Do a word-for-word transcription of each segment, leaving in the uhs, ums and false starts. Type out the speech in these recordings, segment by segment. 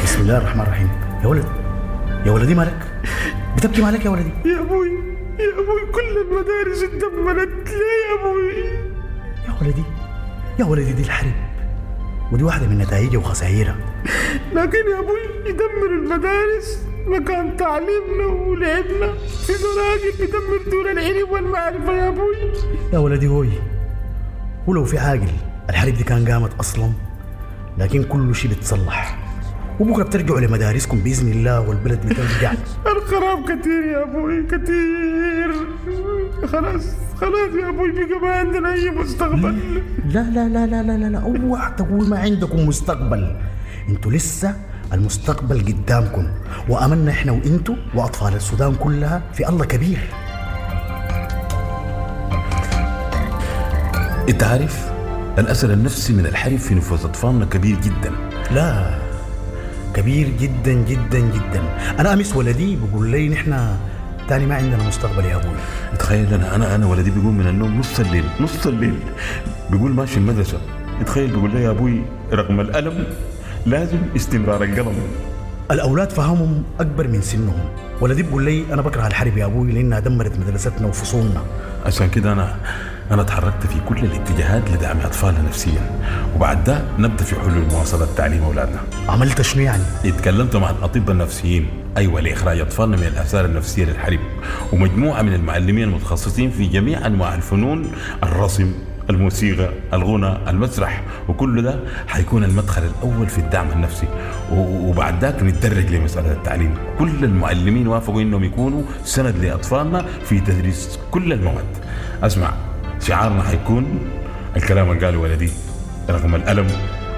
بسم الله الرحمن الرحيم. يا ولد، يا ولدي مالك؟ بتبكي مالك يا ولدي؟ يا ابوي يا ابوي كل المدارس اتدمرت ليه يا ابوي؟ يا ولدي يا ولدي دي الحرب، ودي واحدة من نتائجها وخسائرها. لكن يا ابوي يدمر المدارس مكان تعليمنا ولعبنا، في زراجل بيدمر دور العلم والمعرفة يا ابوي. يا ولدي هوي، ولو في عاقل الحرب دي كان قامت أصلا، لكن كل شيء بيتصلح، وبكرة بترجعوا لمدارسكم بإذن الله والبلد بترجع. الخراب كتير يا أبوي كتير، خلاص خلاص يا أبوي بقى ما عندنا أي مستقبل. لا لا لا لا لا لا لا، اوعى تقول ما عندكم مستقبل، انتوا لسه المستقبل قدامكم، وأملنا احنا وانتوا وأطفال السودان كلها في الله كبير. انت عارف الأثر النفسي من الحرب في نفوس أطفالنا كبير جدا. لا كبير جدا جدا جدا. أنا أمس ولدي بيقول لي نحن تاني ما عندنا مستقبل يا أبوي. تخيل أنا أنا أنا ولدي بيقوم من النوم نص الليل، نص الليل بيقول ماشي المدرسة. تخيل بيقول لي يا أبوي رغم الألم لازم استمرار القلم. الأولاد فهمهم أكبر من سنهم. ولدي بيقول لي أنا بكره الحرب يا أبوي لأنها دمرت مدرستنا وفصولنا. عشان كده أنا أنا تحركت في كل الاتجاهات لدعم أطفالنا نفسيا، وبعد ده نبدأ في حلول مواصلة تعليم أولادنا. عملت شنو يعني؟ اتكلمت مع الأطباء النفسيين، أيوة، لإخراج أطفالنا من الآثار النفسية للحرب، ومجموعة من المعلمين المتخصصين في جميع أنواع الفنون، الرسم، الموسيقى، الغنى، المسرح، وكل ده حيكون المدخل الأول في الدعم النفسي، وبعد ذاك نتدرج لمسألة التعليم. كل المعلمين وافقوا إنهم يكونوا سند لأطفالنا في تدريس كل المواد. أسمع، شعارنا حيكون الكلام اللي قاله ولدي، رغم الألم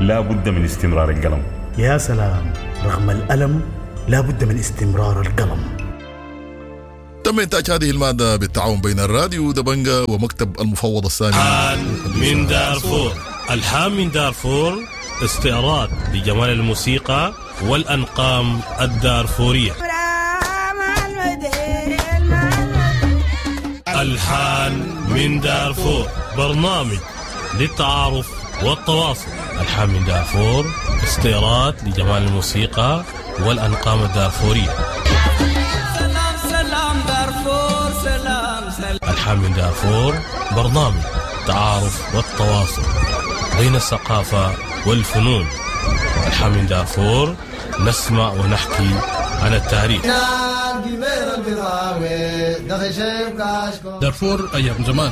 لا بد من استمرار القلم. يا سلام، رغم الألم لا بد من استمرار القلم. تم إنتاج هذه المادة بالتعاون بين الراديو دبنجا ومكتب المفوض السامي. من دارفور، ألحان من دارفور، استعراض لجمال الموسيقى والأنقام الدارفورية. ألحان من دارفور، برنامج للتعارف والتواصل. ألحان من دارفور، استعراض لجمال الموسيقى والأنقام الدارفورية. سلام سلام دارفور، سلام سلام. ألحان من دارفور، برنامج التعارف والتواصل بين الثقافة والفنون. ألحان من دارفور، نسمع ونحكي عن التاريخ. دارفور أيام زمان.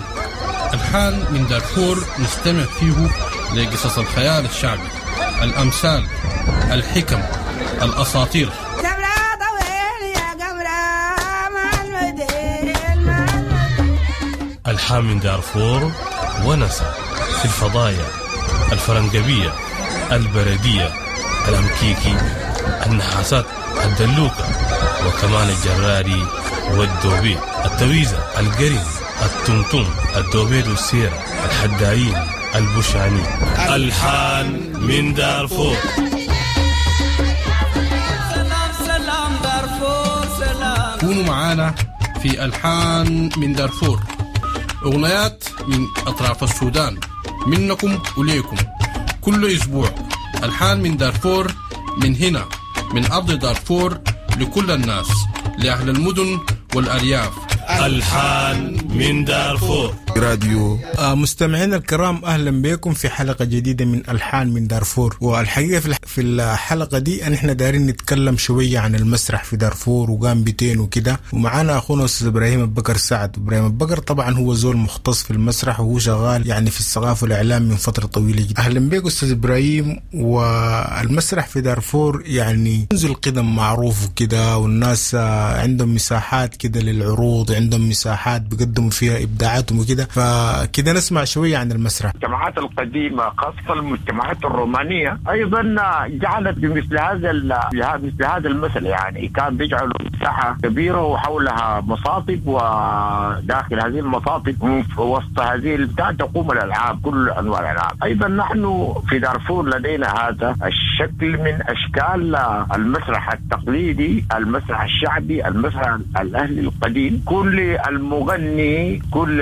ألحان من دارفور نستمع فيه لقصص الخيال الشعبي، الأمثال، الحكم، الأساطير. ألحان من دارفور ونسى في الفضايا الفرنجبية، البردية، الأمكيكي، النحاسات، الدلوكة، وكمان الجراري والدوبيت، التويزة، القرن، التمتم، الدوبيت والسيرة، الحدايين، البشاني. ألحان من دارفور. سلام سلام دارفور، سلام. كونوا معانا في ألحان من دارفور، أغنيات من أطراف السودان، منكم وليكم، كل أسبوع ألحان من دارفور، من هنا من أرض دارفور، لكل الناس، لأهل المدن والأرياف. ألحان من دارفور راديو. مستمعينا الكرام، أهلا بكم في حلقة جديدة من ألحان من دارفور. والحقيقة في الحلقة دي نحن دارين نتكلم شوية عن المسرح في دارفور وقام بيتين وكده، ومعانا أخونا أستاذ إبراهيم البكر سعد. إبراهيم البكر طبعا هو زول مختص في المسرح وهو شغال يعني في الثقافة والإعلام من فترة طويلة جدا. أهلا بك أستاذ إبراهيم. والمسرح في دارفور يعني منذ القدم معروف وكده، والناس عندهم مساحات كده للعروض، عندهم مساحات بيقدموا فيها إبداعاتهم وكده، فكده نسمع شوية عن المسرح. المجتمعات القديمة خاصة المجتمعات الرومانية أيضا جعلت بمثل هذا مثل هذا المثل، يعني كان بيجعلوا مساحة كبيرة وحولها مصاطب، وداخل هذه المصاطب وسط هذه البتاع تقوم الألعاب، كل أنواع الألعاب. أيضا نحن في دارفور لدينا هذا الشكل من أشكال المسرح التقليدي، المسرح الشعبي، المسرح الأهلي القديم. كل المغني، كل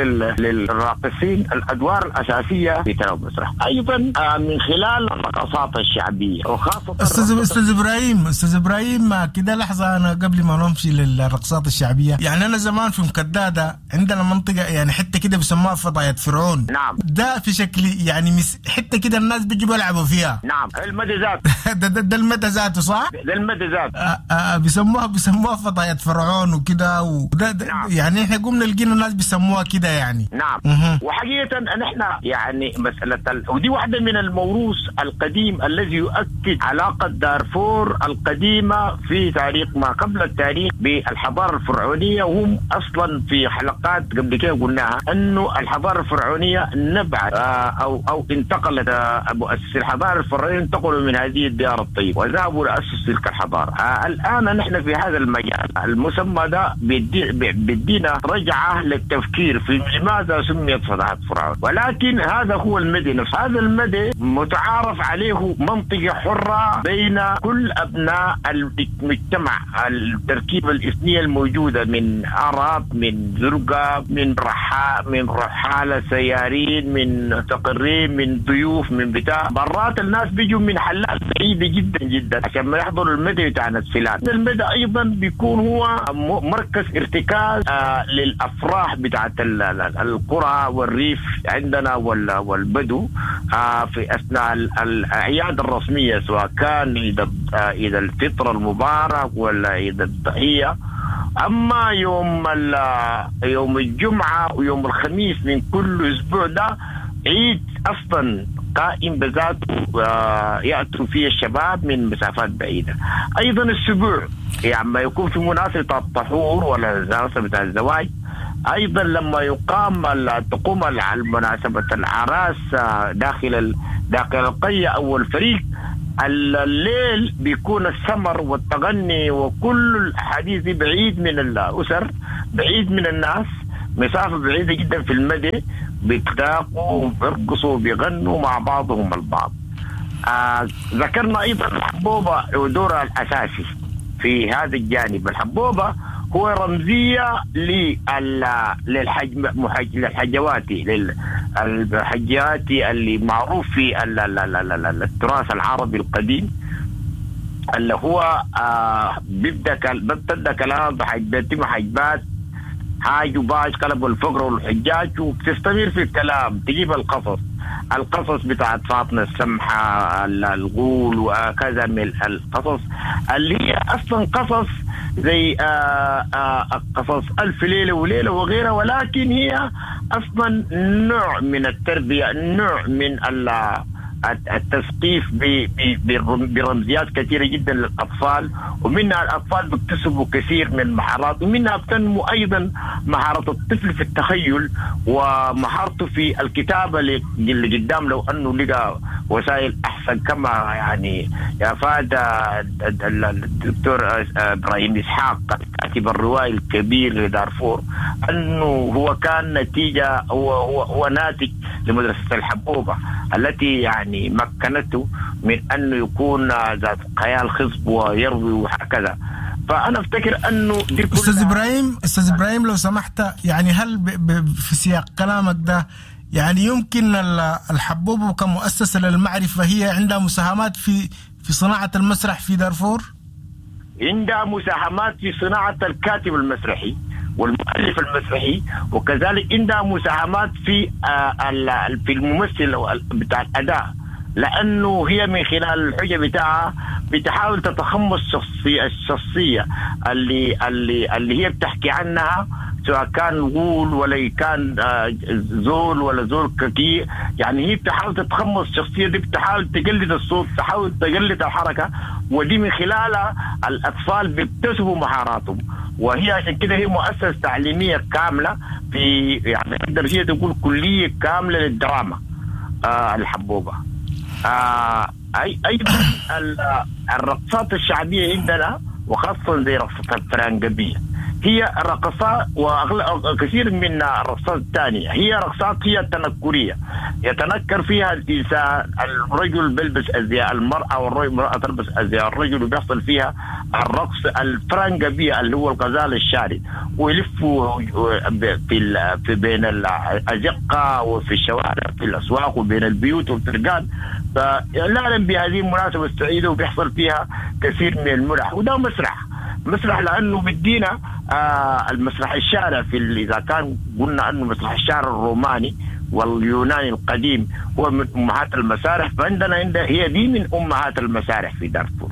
للراقصين الادوار الاساسية في تناول المسرح. ايضا من خلال الرقصات الشعبية وخاصة استاذ استاذ ابراهيم استاذ ابراهيم كده لحظة، انا قبل ما نمشي للرقصات الشعبية، يعني انا زمان في مكداده عندنا منطقة يعني حتة كده بيسموها فضاية فرعون. نعم. ده في شكل يعني مس... حتة كده الناس بيجوا بيلعبوا فيها. نعم، المدى ذاته. ده, ده, ده المدى ذاته صح؟ ده المدى ذاته. آه آه بيسموها بيسموها فضاية فرعون وكده وده ده. نعم. يعني احنا قمنا لقينا الناس بيسموها كده يعني. نعم. مه. وحقيقة نحن يعني مسالة ال... ودي واحدة من الموروث القديم الذي يؤكد علاقة دارفور القديمة في تاريخ ما قبل التاريخ بالحضارة الفرعونية. وهم اصلا في حلقات قبل كده قلناها انه الحضارة الفرعونية نبعت او او انتقلت، مؤسسي الحضارة الفرعونية انتقلوا من هذه الديار الطيبة وذهبوا لاسس تلك الحضارة. الان نحن في هذا المجال المسمى ده بيدينا رجعه للتفكير في لماذا سميت فضاءات فرعون، ولكن هذا هو المدى نفسه. هذا المدى متعارف عليه منطقة حره بين كل ابناء المجتمع، التركيبة الاثنيه الموجودة من عرب، من زرقاء، من رحاء، من رحاله سيارين، من مستقرين، من ضيوف، من بتاع. مرات الناس بيجوا من حلات بعيدة جدا جدا عشان ما يحضروا المدى بتاع فلان. المدى ايضا بيكون هو مركز ارتكاز آه للافراح بتاعت القرى والريف عندنا والبدو آه في اثناء الاعياد الرسمية، سواء كان عيد عيد الفطر المبارك ولا عيد الضحية. اما يوم يوم الجمعة ويوم الخميس من كل اسبوع ده عيد اصلا قائم بذاته ياتوا فيه الشباب من مسافات بعيدة. ايضا السبوع يعني ما يكون في مناسبة الطهور ولا مناسبة الزواج، ايضا لما يقام تقوم مناسبة العراس داخل داخل القرية او الفريق، الليل بيكون السمر والتغني وكل الحديث بعيد من الأسر، بعيد من الناس، مسافة بعيدة جدا في المدى، بيتلاقوا وبيرقصوا وبيغنوا مع بعضهم البعض. آه ذكرنا أيضا الحبوبة ودورها الأساسي في هذا الجانب. الحبوبة هو رمزية للحج للحجواتي للحجاتي اللي معروف في التراث العربي القديم، اللي هو آه بيبدا بيبدا كلام بحجبات حجبات حاج وباج قلبوا الفقر والحجاج، وبتستمر في الكلام تجيب القصص القصص بتاعت فاطمة السمحة الغول وكذا من القصص اللي هي أصلا قصص زي آآ آآ قصص ألف ليلة وليلة وغيرها، ولكن هي أصلا نوع من التربية، نوع من التثقيف برمزيات كثيرة جدا للأطفال، ومنها الأطفال بيكتسبوا كثير من المهارات، ومنها بتنمو أيضا مهارة الطفل في التخيل ومهارته في الكتابة اللي قدام، لو أنه لقى وسائل أحسن. كما يعني أفاد الدكتور إبراهيم إسحاق كاتب الرواية الكبير لدارفور أنه هو كان نتيجة هو هو, هو ناتج لمدرسة الحبوبة التي يعني مكنته من أنه يكون ذات خيال خصب ويروي وهكذا. فأنا أفتكر أنه دي كلها. أستاذ إبراهيم أستاذ إبراهيم لو سمحت، يعني هل ب ب في سياق كلامك ده يعني يمكن الحبوبة كمؤسسة للمعرفة هي عندها مساهمات في في صناعة المسرح في دارفور؟ عندها مساهمات في صناعة الكاتب المسرحي والمؤلف المسرحي، وكذلك عندها مساهمات في في الممثل بتاع الأداء، لأنه هي من خلال الحجة بتاعها بتحاول تتخمص الشخصية الشخصية اللي اللي اللي هي بتحكي عنها، سواء كان غول ولا كان زول ولا زول كثير. يعني هي بتحاول تتخمص الشخصية دي، بتحاول تقلد الصوت، تحاول تقلد الحركة، ودي من خلالها الأطفال بيكتسبوا مهاراتهم. وهي عشان كده هي مؤسسة تعليمية كاملة في يعني تقدر هي تقول كلية كاملة للدراما آه الحبوبة. آه أي أيضا الرقصات الشعبية عندنا وخاصة زي رقصة الفرنجبية هي رقصات، وكثير من الرقصات الثانية هي رقصات هي تنكرية، يتنكر فيها الإنسان، الرجل بيلبس أزياء المرأة والمرأة تلبس أزياء الرجل، وبيحصل فيها الرقص الفرنجبي اللي هو الغزال الشارد، ويلفوا في في بين الأزقة وفي الشوارع في الأسواق وبين البيوت والفرقان. فإعلانا بهذه المناسبة السعيدة، وبيحصل فيها كثير من المرح. وده مسرح مسرح لأنه بدينا آه المسرح الشارع في إذا كان قلنا أنه مسرح الشارع الروماني واليوناني القديم هو من أمهات المسارح، فعندنا عند هي دي من أمهات المسارح في دارفور،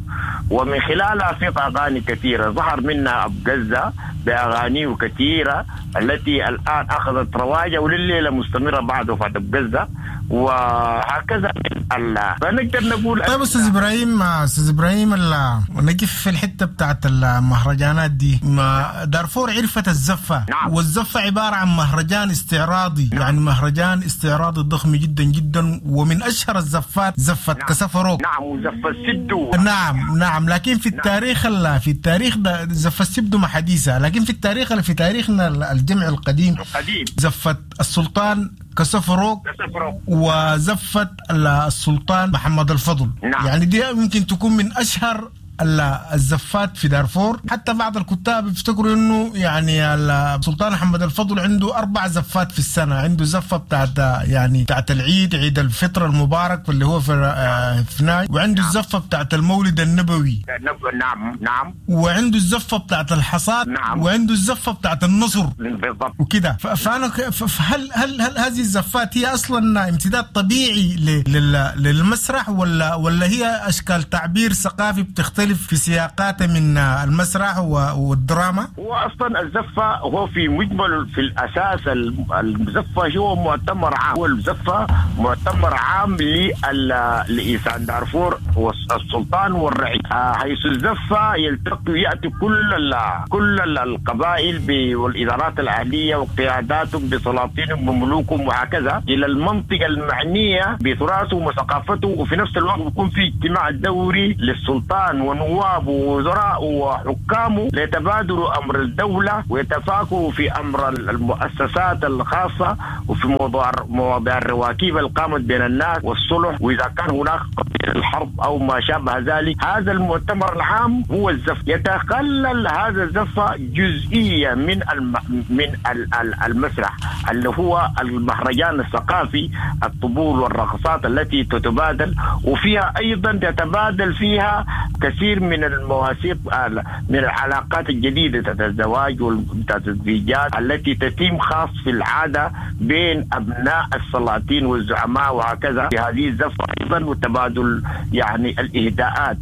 ومن خلالها في أغاني كثيرة ظهر منها أبو قزة بأغانيه كثيرة التي الآن أخذت رواجة ولليلة مستمرة بعد وفاة أبو قزة، وهكذا. فنقدر نقول طيب أستاذ إبراهيم، أستاذ إبراهيم نقف في الحتة بتاعت المهرجانات دي. ما دارفور عرفت الزفة. نعم. والزفة عبارة عن مهرجان استعراضي. نعم. يعني مهرجان استعراضي ضخم جدا جدا، ومن أشهر الزفات زفة. نعم. كسفروك. نعم، وزفة السبدو. نعم نعم، لكن في التاريخ. نعم. في التاريخ ده زفة السبدو ما حديثة، لكن في التاريخ في تاريخنا الجمع القديم القديم زفة السلطان كسفروك وزفة السلطان محمد الفضل. نعم. يعني دي ممكن تكون من أشهر الزفات في دارفور. حتى بعض الكتاب يفتكروا انه يعني السلطان محمد الفضل عنده اربع زفات في السنه، عنده زفه بتاعت يعني بتاعت العيد، عيد الفطر المبارك اللي هو في فناي، وعنده الزفه بتاعت المولد النبوي. نعم نعم، وعنده الزفه بتاعت الحصاد. نعم. وعنده الزفه بتاعت النصر بالضبط وكده. فانا فهل هل هل هذه الزفات هي اصلا امتداد طبيعي للمسرح ولا ولا هي اشكال تعبير ثقافي بتختلف في سياقات من المسرح والدراما؟ هو أصلا الزفة هو في مجمل في الأساس الزفة هو مؤتمر عام، هو الزفة مؤتمر عام لإنسان دارفور والسلطان والرعية، حيث الزفة يلتقي يأتي كل ال كل القبائل والإدارات الأهلية وقياداتهم بسلاطينهم وملوكهم وهكذا إلى المنطقة المعنية بتراثهم وثقافته، وفي نفس الوقت بيكون في اجتماع دوري للسلطان ونوابه ووزراء وحكامه ليتبادلوا أمر الدولة ويتفاكوا في أمر المؤسسات الخاصة وفي موضوع مواضيع الرواكيب اللي قامت بين الناس والصلح، وإذا كان هناك الحرب أو ما شابه ذلك. هذا المؤتمر العام هو الزف. يتخلل هذا الزفة جزئية من الم... من المسرح اللي هو المهرجان الثقافي، الطبول والرقصات التي تتبادل، وفيها أيضا تتبادل فيها كثير من المواثيق من العلاقات الجديدة بتاعت الزواج وبتاعت الزيجات التي تتم خاص في العادة بين أبناء السلاطين والزعماء وهكذا. في هذه الزفة أيضا وتبادل يعني الإهداءات،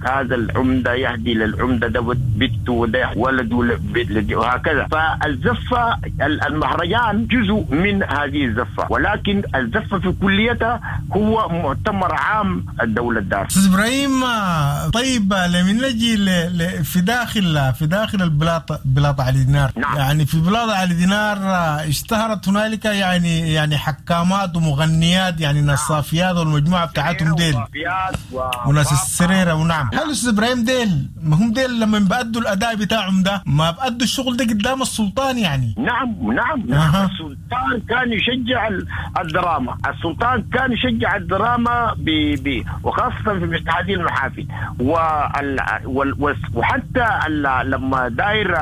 هذا العمدة يهدي للعمدة ده بنته وده ولده وهكذا. فالزفة المهرجان جزء من هذه الزفة، ولكن الزفة في كليتها هو مؤتمر عام الدولة الدار. أستاذ إبراهيم، طيب لما نجي في داخل في داخل البلاط بلاط علي دينار. نعم. يعني في بلاط علي دينار اشتهرت هنالك يعني يعني حكامات ومغنيات، يعني ناس صافيات والمجموعة بتاعتهم ديل و... وناس السريرة. ونعم. هل أستاذ إبراهيم ديل ما هم ديل لما بأدوا الأداء بتاعهم ده ما بأدوا الشغل ده قدام السلطان يعني؟ نعم نعم, نعم. أه. السلطان كان يشجع الدراما، السلطان كان يشجع الدراما ب... ب... وخاصة في مثل هذه المحافل وال... وال... وحتى ال... لما داير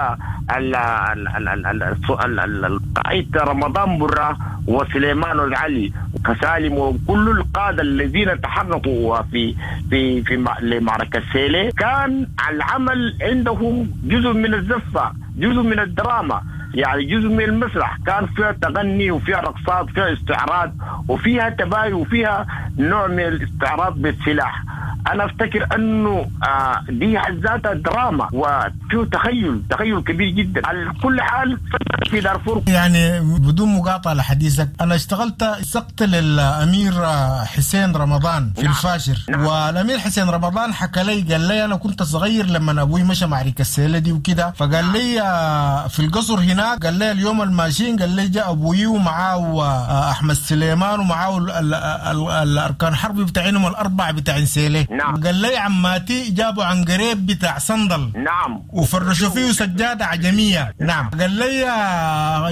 ال... ال... ال... ال... القائد رمضان برا وسليمان العلي وكسالم وكل القادة الذين تحركوا في في في لمعركة سيلي كان العمل عندهم جزء من الزفة، جزء من الدراما، يعني جزء من المسرح. كان فيها تغني وفيها رقصات وفيها استعراض وفيها تباين وفيها نوع من الاستعراض بالسلاح. أنا أفتكر أنه آه دي ذاتها دراما وفيه تخيل تخيل كبير جدا. على كل حال في دارفور يعني بدون مقاطعة لحديثك، أنا اشتغلت سقت للأمير حسين رمضان في نعم. الفاشر. نعم. والأمير حسين رمضان حكى لي، قال لي أنا كنت صغير لما أبوي مشى معركة السيلة دي وكده، فقال نعم. لي في القصر هناك، قال لي اليوم الماشيين، قال لي جاء أبوي ومعاه أحمد سليمان ومعاه الأركان حربي بتاعينهم الأربعة بتاعين سيلة. نعم. قال لي عماتي جابوا عنقريب بتاع صندل. نعم. وفرشوا فيه سجادة عجمية. نعم. قال لي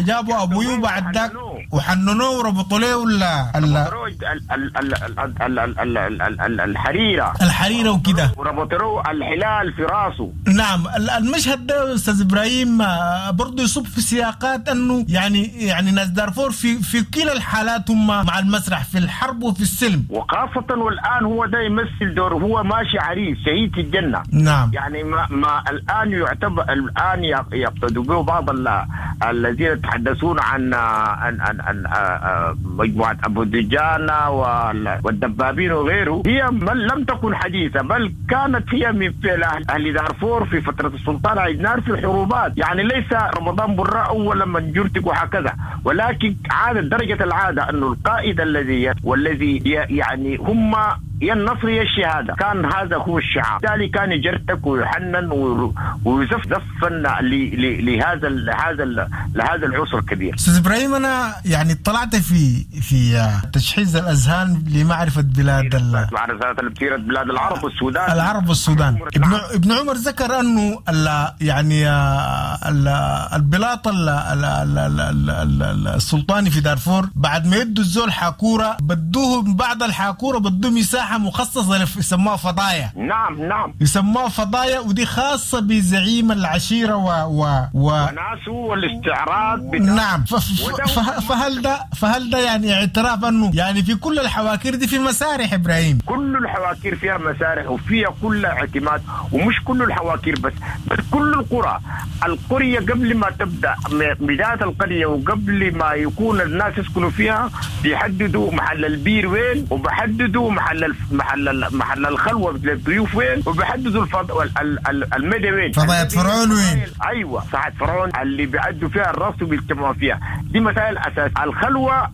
جابوا أبوي وبعد ذاك وحننوه وربطوا له ال ال الحريره الحريره وكده، وربطوا الحلال في راسه. نعم. المشهد ده استاذ ابراهيم برضه يصب في سياقات انه يعني يعني ناس دارفور في في كلا الحالات هم مع المسرح في الحرب وفي السلم، وخاصة والآن هو ده يمثل دور، هو ماشي عريس شهيد في الجنة. نعم. يعني ما, ما الآن يعتبر الآن يقتدوا به بعض الذين يتحدثون عن عن عن, عن مجموعة أبو دجانة والدبابين وغيره، هي لم تكن حديثة، بل كانت هي من فعل أهل دارفور في فترة السلطان عيدنار في الحروبات. يعني ليس رمضان براء أولا من جرتك وهكذا، ولكن عادة درجة العادة أنه القائد الذي والذي يعني هم يا النصر يا الشهادة، كان هذا هو الشعار. بالتالي كان يجرتك ويحنن ويزف زفا لهذا هذا لهذا العسر الكبير. أستاذ إبراهيم، أنا يعني اطلعت في في تجهيز الأذهان لمعرفة بلاد ال معرفة بلاد العرب والسودان، العرب والسودان. ابن ابن عمر ذكر أنه ال يعني ال البلاط ال السلطاني في دارفور بعد ما يدوا الزول حاكورة بدوه بعد الحاكورة بدوه مساحة مخصصة يسموها فضايا. نعم نعم، يسموها فضايا، ودي خاصة بزعيم العشيرة و و و وناسه والاستعراض بتاع. نعم. ف... ف... فهل ده فهل ده يعني اعتراف انه يعني في كل الحواكير دي في مسارح ابراهيم؟ كل الحواكير فيها مسارح وفيها كل اعتماد، ومش كل الحواكير بس، بل كل القرى. القرية قبل ما تبدأ بداية القرية وقبل ما يكون الناس يسكنوا فيها بيحددوا محل البير وين، وبحددوا محل الف... محل محل الخلوة للضيوف وين، وبيحددوا الفض... المدى وين، فضايا فرعون وين. ايوه، ساعة فرعون اللي بيعدوا فيها الراس وبيجتمعوا فيها. دي مسائل اساس الخلوة.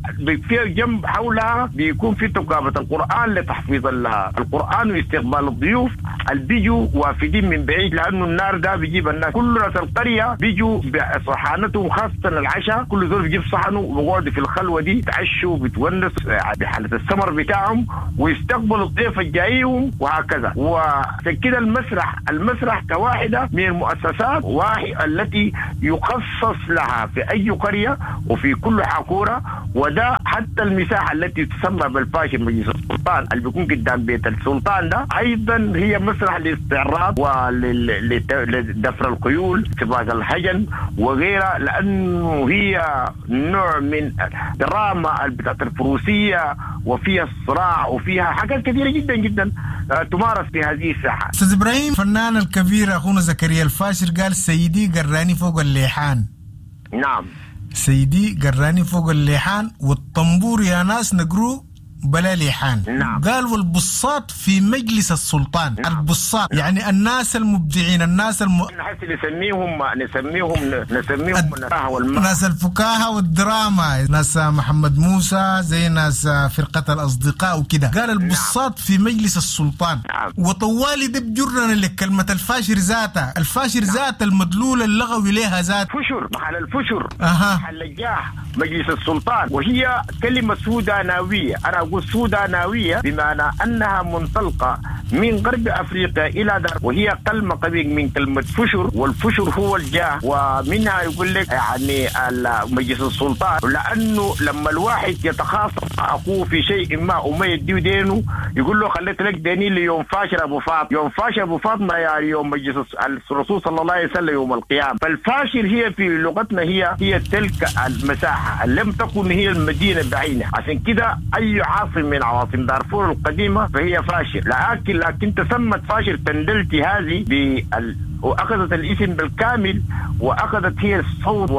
فيها جنب حولها بيكون في تقابه القران لتحفيظ القران واستقبال الضيوف اللي بيجوا وافدين من بعيد، لانه النار ده بيجيب الناس. كل ناس القرية بيجوا بصحانتهم، خاصة العشاء كل زول بيجيب صحنه وبيقعدوا في الخلوة دي، يتعشوا بيتونسوا بحاله السمر بتاعهم ويستقبلوا الضيف الجايهم وهكذا. وكده المسرح المسرح كواحدة من المؤسسات واحد التي يخصص لها في أي قرية وفي كل حاكورة. وده حتى المساحة التي تسمى بالفاشل مجلس السلطان اللي بيكون قدام بيت السلطان ده أيضا هي مسرح للاستعراض ولدفر الخيول، سباق الهجن وغيرها، لأنه هي نوع من دراما بتاعت الفروسية وفيها الصراع وفيها حاجات كثيرة جدا جدا تمارس في هذه الساحة. أستاذ إبراهيم، الفنان الكبير أخونا زكريا الفاشر قال سيدي قراني فوق الليحان. نعم، سيدي قراني فوق الليحان والطنبور يا ناس نقرو بلا ليحان. نعم. قال والبصات في مجلس السلطان. نعم. البصات يعني الناس المبدعين، الناس الم... نحس نسميهم نسميهم نسميهم الم... ناس الفكاهة والدراما، ناس محمد موسى زي ناس فرقة الأصدقاء وكده. قال البصات نعم. في مجلس السلطان. نعم. وطوالي ده بجرنا لكلمة الفاشر ذاتها، الفاشر نعم. ذات المدلول اللغوي لها ذات فشر، محل الفشر، أها. محل الجاه، مجلس السلطان. وهي كلمة سوداناوية. أنا أقول سوداناوية بمعنى أنها منطلقة من غرب أفريقيا إلى دار، وهي كلمة قوية من كلمة فشر، والفشر هو الجاه، ومنها يقول لك يعني مجلس السلطان، لأنه لما الواحد يتخاصم مع أخوه في شيء ما وما يديه دينه يقول له خليت لك ديني ليوم فاشر أبو فاطمة، يوم فاشر أبو فاطمة يعني يوم مجلس الرسول صلى الله عليه وسلم يوم القيامة. فالفاشر هي في لغتنا هي هي تلك المساحة لم تكن هي المدينة بعينها، عشان كده أي عاصم من عواصم دارفور القديمة فهي فاشر، لكن لكن تسمت فاشر تندلتي هذه بال واخذت الاسم بالكامل، واخذت هي الصوت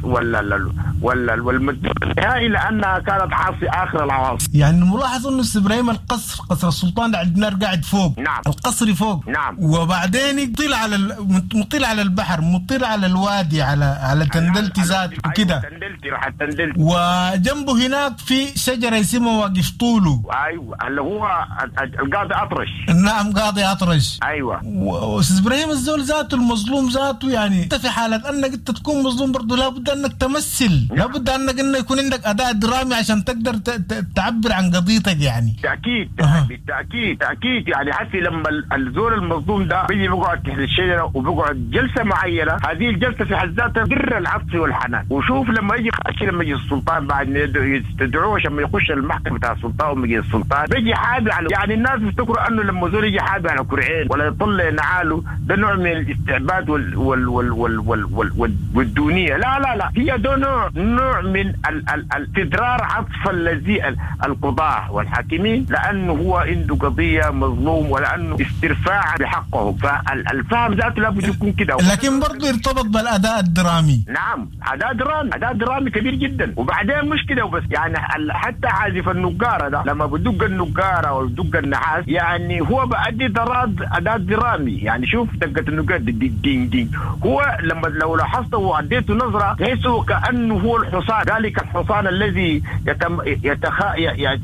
وال والمدلول النهائي لانها كانت عاصي اخر العواصم. يعني ملاحظ انه ابراهيم القصر قصر السلطان عندنا قاعد فوق. نعم. القصر فوق. نعم. وبعدين يطل على مطل على البحر، مطل على الوادي، على على تندلتي ذات وكده. تندلتي راح تندلتي. وجنبه هناك في شجرة اسمها واقف طوله. ايوه اللي هو القاضي اطرش. نعم قاضي اطرش. ايوه. واستاذ ابراهيم الزول الزول ذاته المظلوم ذاته يعني انت في حاله انك انت تكون مظلوم برضه لابد انك تمثل، لابد انك انه يكون عندك اداء درامي عشان تقدر تعبر عن قضيتك يعني. بالتاكيد بالتاكيد تاكيد يعني حتى لما الزول المظلوم ده بيجي بيقعد تحت الشجرة وبيقعد جلسه معينة، هذه الجلسة في حد ذاتها در العطف والحنان. وشوف لما يجي لما يجي السلطان بعد يستدعوه عشان ما يخش المحكمة بتاع السلطان وما يجي السلطان بيجي حابي على يعني الناس بيفتكروا انه لما زول يجي حابي على كرعين ولا يطلع نعاله ده نوع من الاستعباد وال وال وال وال وال وال وال والدونيه. لا لا لا، هي ده نوع نوع من الاستدرار عطف الذي القضاة والحاكمين، لانه هو عنده قضية مظلوم ولانه استرفاع بحقه، فالفهم ذاته لابد يكون كده. لكن برضه يرتبط بالاداء الدرامي. نعم، اداء درامي، اداء درامي كبير جدا. وبعدين مش كده وبس، يعني حتى عازف النقاره ده لما بدق النقاره وبدق النحاس يعني هو بأدي دراد اداء درامي. يعني شوف دقه النقاره دي دين دين، هو لما لو لاحظته واديته نظره تحسه كانه هو الحصان، ذلك الحصان الذي يتم يتخ...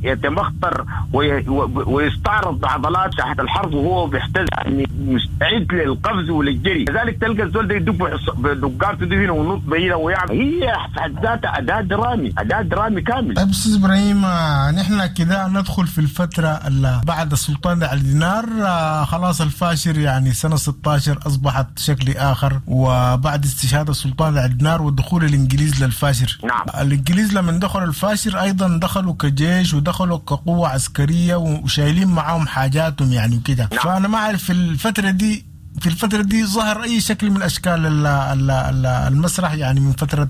يتمخطر وي... ويستعرض بعضلات تحت الحرب وهو بيحتز، يعني مستعد للقفز وللجري. لذلك تلقى الزول ده يدق بدقارته دي هنا ونط بعيدة ويعمل، هي في حد ذاتها اداء درامي، اداء درامي كامل. طيب استاذ ابراهيم، نحن كده ندخل في الفترة اللي بعد السلطان علي دينار. خلاص الفاشر يعني سنة ستة عشر اصبحت شكل اخر، وبعد استشهاد السلطان علي دينار ودخول الانجليز للفاشر. نعم. الانجليز لما دخلوا الفاشر ايضا دخلوا كجيش ودخلوا كقوة عسكرية وشايلين معاهم حاجاتهم يعني وكده. نعم. فانا ما اعرف في الفترة دي في الفترة دي ظهر أي شكل من أشكال المسرح يعني من فترة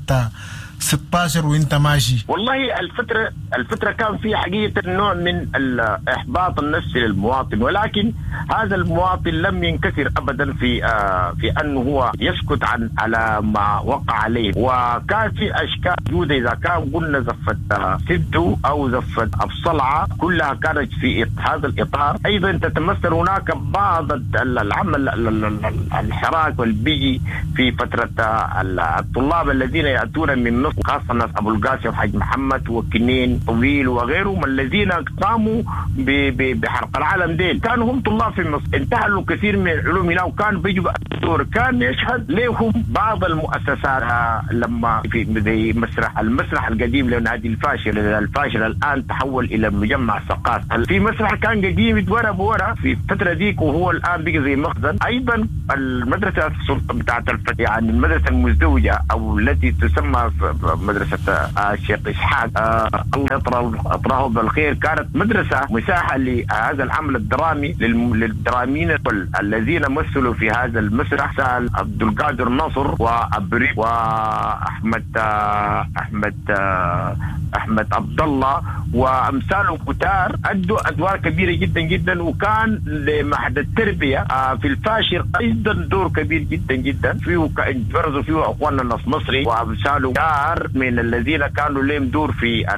ستة عشر وانت ماشي؟ والله الفترة الفترة كان في حقيقة نوع من الإحباط النفسي للمواطن، ولكن هذا المواطن لم ينكسر أبدا في آه في أنه هو يسكت عن على ما وقع عليه. وكان في أشكال موجودة، إذا كان قلنا زفة سدو أو زفة أبصلعة كلها كانت في هذا الإطار. أيضا تتمثل هناك بعض العمل الحراك والبيجي في فترة الطلاب الذين يأتون من مصر، خاصة ناس أبو القاسم حاج محمد وكنين طويل وغيرهم الذين قاموا بحرق العالم ديل، كانوا هم طلاب في مصر، انتهلوا كثير من العلوم هنا وكان بيجوا دور. كان يشهد لهم بعض المؤسسات لما في زي مسرح المسرح القديم لنادي الفاشل، الفاشل الآن تحول إلى مجمع ثقافي. في مسرح كان قديم اتورى بورا في الفترة ديك وهو الآن بقى زي مخزن. أيضا المدرسة السلطة بتاعت الفتح، يعني المدرسة المزدوجة أو التي تسمى مدرسة الشيخ إسحاق آه الله يطراه بالخير، كانت مدرسة مساحة لهذا العمل الدرامي للدراميين الذين مثلوا في هذا المسرح، سأل عبد القادر نصر وأبري وأحمد آه أحمد آه أحمد عبد الله وأمثاله كتار، أدوا أدوار كبيرة جدا جدا. وكان لمعهد التربية آه في الفاشر أيضا دور كبير جدا جدا فيه، برزوا فيه أخواننا النص مصري وأمثاله كتار من الذين كانوا لهم دور في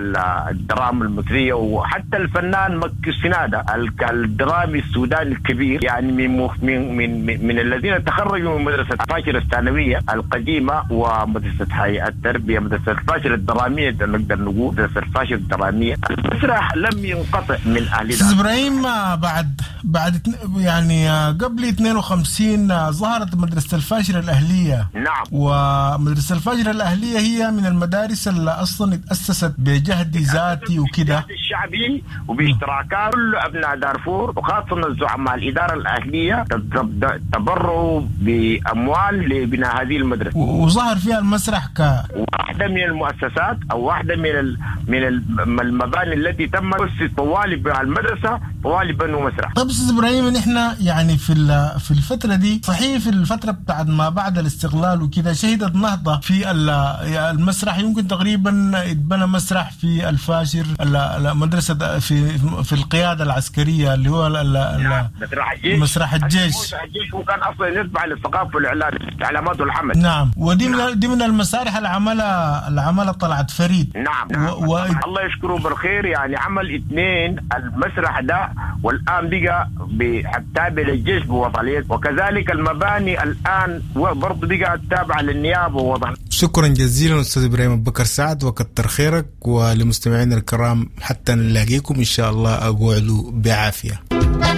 الدراما المصرية. وحتى الفنان مكي السنادة الدرامي السوداني الكبير، يعني من من من, من الذين تخرجوا من مدرسة فاشر الثانوية القديمة ومدرسة هيئة التربية، مدرسة فاشر الدرامية نقدر نقول مدرسة فاشر الدرامية. المسرح لم ينقطع من أهل أستاذ إبراهيم، بعد بعد يعني قبل اثنين وخمسين ظهرت مدرسة الفاشر الأهلية. نعم. ومدرسة الفاشر الأهلية هي من المدارس اللي أصلا اتأسست بجهد ذاتي وكده الشعبي وباشتراكات كل أبناء دارفور، وخاصة الزعماء الإدارة الأهلية تبرعوا بأموال لبناء هذه المدرسة، وظهر فيها المسرح ك واحدة من المؤسسات أو واحدة من ال... من المباني التي تم طوالي المدرسة طوالي بنوا مسرح. طيب أستاذ إبراهيم، نحن يعني في في الفترة دي صحيح في الفترة بتاعت ما بعد الاستقلال وكده شهدت نهضة في المسرح، يمكن تقريبا اتبنى مسرح في الفاشر، مدرسة في في القيادة العسكرية اللي هو مسرح الجيش. مسرح الجيش مسرح الجيش وكان أصلا يتبع للثقافة والإعلام الإعلامات والعمل. نعم، ودي من نعم. دي من المسارح العملة العملة طلعت فريد. نعم, نعم. و... و... الله يشكره بالخير، يعني عمل اثنين المسرح ده والآن بقى تابع للجيش بوضعية، وكذلك المباني الآن برضه بقى تابعة للنيابة ووضع. شكرا جزيلا أستاذ إبراهيم أبو بكر سعد، وكتر خيرك. ولمستمعينا الكرام حتى نلاقيكم إن شاء الله، أقعدوا بعافية.